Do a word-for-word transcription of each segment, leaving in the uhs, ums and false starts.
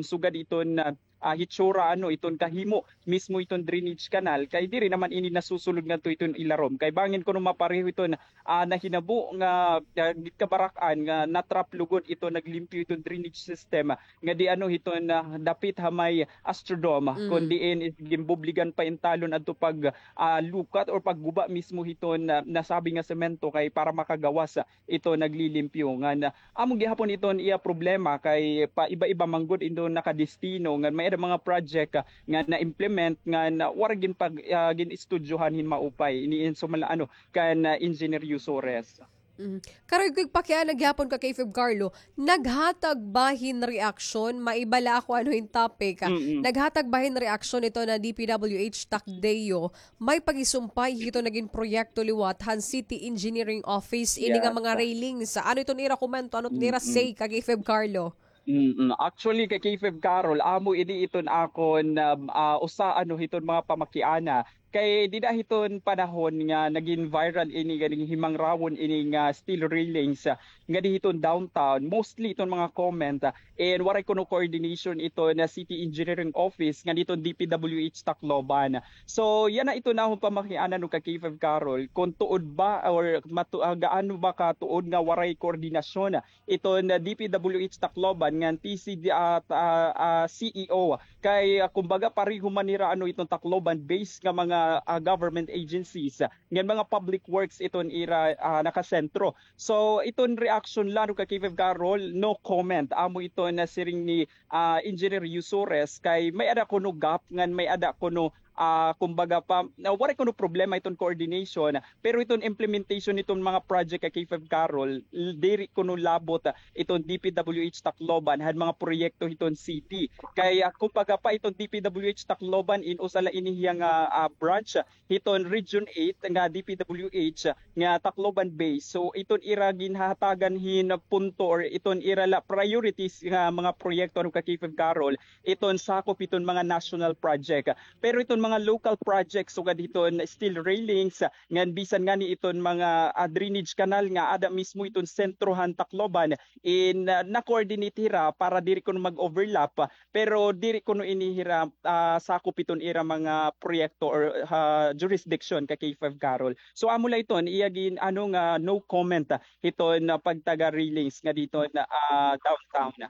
sugad iton, ah, ah, hitsura, ano, iton kahimo mismo iton drainage canal, kay diri naman ini nasusulod ngadto iton ilarom. Kay bangin kuno mapareho iton, ah, nahinabo nga, ah, kabarak-an nga na-trap lugod iton naglimpyo iton drainage system nga di ano hiton, ah, dapit ha may Astrodome, kun diin is ginbubligan pa in talon adto pag, ah, lukat or pagguba mismo hiton, ah, nasabi nga semento kay para makagawas, ah, ito naglilimpyo. Ngan, ah, amo gihapon iton iya problema kay paiba-iba man gud iton nakadestino ngan may-ada mga project, ah, nga na-implement ngan, ah, waray ginpag-, ah, gin-estudyohan hin maupay. Ini in sumala, ano, kan, ah, Engineer Yusores. Mhm. Karon ko pakiana gihapon ka K five Carlo, naghatag ba hin reaksyon? Maiba la ako ano hin topic, ah. Mm-mm. Naghatag ba hin reaksyon ito na D P W H Tacdeo? May pagisumpay hito nagin proyekto liwat han City Engineering Office ini nga mga railings. Ano iton ira komento? Ano iton ira say ka K five Carlo? Mm-mm. Actually, ka K five Carol, amo ini iton akon, um, ah, usa ano hiton mga pamakiana. Kay dida hiton panahon nga nagin viral ini, ganing himangrawon ini nga steel railings, ah, nga di hiton downtown, mostly iton mga comment, ah, and waray kuno coordination iton City Engineering Office nga diton D P W H Tacloban. So yana iton akon pamakiana no ka K five Carol, kung tuod ba or matu-, ah, gaano ba ka tuod nga waray koordinasyon iton D P W H Tacloban ngan T C D, ah, ah, ah, C E O. Kay, ah, kumbaga, pareho man nira ano iton Tacloban based nga mga, ah, government agencies, ah, ngan mga public works iton ira, ah, nakasentro. So iton reaction la no ka K five Carol, no comment. Amo iton siring ni, ah, Engineer Yusores kay may-ada kuno gap ngan may-ada kuno, ah, kumbaga pa, na waray kuno problema iton coordination, pero iton implementation niton mga project ka K five Carol, l-, diri kuno labot, ah, iton D P W H Tacloban han mga proyekto hiton city. Kay, ah, kumbaga pa iton D P W H Tacloban in usa la ini hiya nga, ah, branch hiton Region eight nga D P W H nga Tacloban base. So iton ira ginhahatagan hin punto or iton ira la priorities nga mga proyekto ano ka K five Carol, iton sakop iton mga national project. Pero iton mga local project sugad hiton steel railings, ngan bisan ngani iton mga, ah, drainage canal nga ada mismo iton sentro han Tacloban, in, ah, na-coordinate hira para diri kuno mag-overlap, pero diri kuno ini hira, ah, sakop iton ira mga proyekto or, ah, jurisdiction ka K five Carol. So amo la iton iya gin-ano nga no comment, ah, hiton, ah, pagtaga railings nga diton, ah, downtown.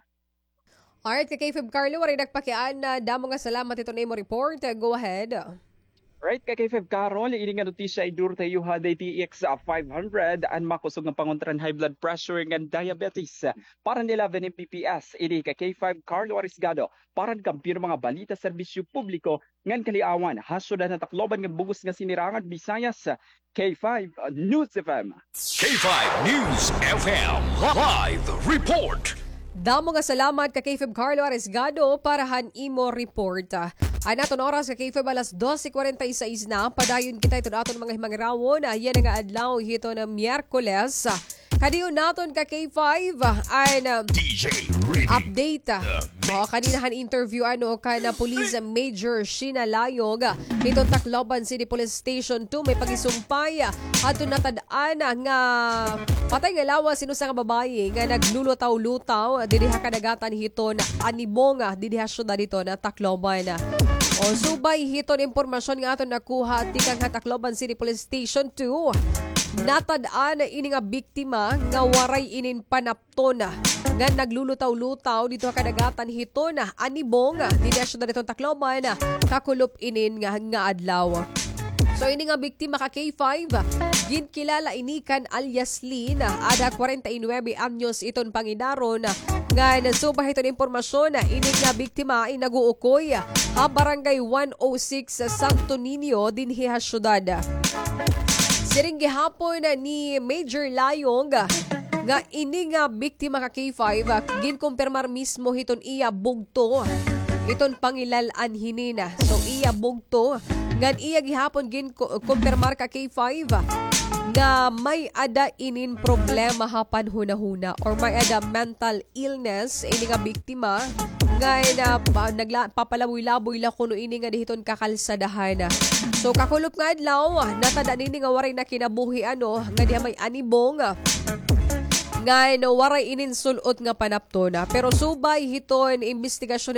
Alright, ka K five Carlo, waray nagpakiana. Damo nga salamat hiton imo report. Go ahead. Right, ka K five Carol, ini nga notisya iduro ta iyo ha D T X five hundred, an makusog nga pangontra han high blood pressure ngan diabetes. Para han eleven M B P S, ini ka K five Carlo Arisgado, para han kampiyon nga mga balita, serbisyo publiko, ngan kaliawan, ha syudad han Tacloban ngan bug-os nga Sinirangan Visayas, K five News F M. K five News F M live report. Damo nga salamat ka K five Carlo Arisgado para han imo report. An aton oras ka K five alas doce cuarenta y seis na. Padayon kita iton aton mga himangrawon yana nga adlaw hiton Miyerkules. Kadiyon naton ka K five an, ah, D J Ready update, ah. The mix. O, kanina han interview ano kan Police Major Sheena Layog hiton Tacloban City Police Station two, may pagisumpay, ah, adto natad-an nga patay nga lawas hin usa nga babaye nga naglulutaw-lutaw didi ha kadagatan hiton Anibong, ah, didi ha syudad hiton Tacloban. O, subay hiton impormasyon nga aton nakuha tikang ha Tacloban City Police Station two, natad-an ini nga biktima nga waray inin panapton nga naglulutaw-lutaw didto ha kadagatan hiton Anibong, didi ha syudad hiton Tacloban, kakulop inin nga, nga adlaw. So ini nga biktima ka K five, ginkilala ini kan alias Lin, ada kwarenta y nuebe anyos iton pangidaron, ngan subay hiton impormasyon, ini nga biktima in nag-uukoy ha Barangay one oh six Santo Niño dinhi ha syudad. Siring gihapon ni Major Layong nga ini nga biktima ka K five, ginkumpirmar mismo hiton iya bugto iton pangilal-an hinin. So iya bugto, ngan iya gihapon gin-, kumpirmar ka K five nga may-ada inin problema ha panhunahuna or may-ada mental illness ini nga biktima, nga na, pa-, nagla-, papalaboy-laboy la kuno ini nga didi hiton kakalsadahan. So kakulop nga adlaw, natad-an ini nga waray na kinabuhi ano nga diha may Anibong. Ngan waray inin sul-ot nga panapton, ah. Pero subay hiton imbestigasyon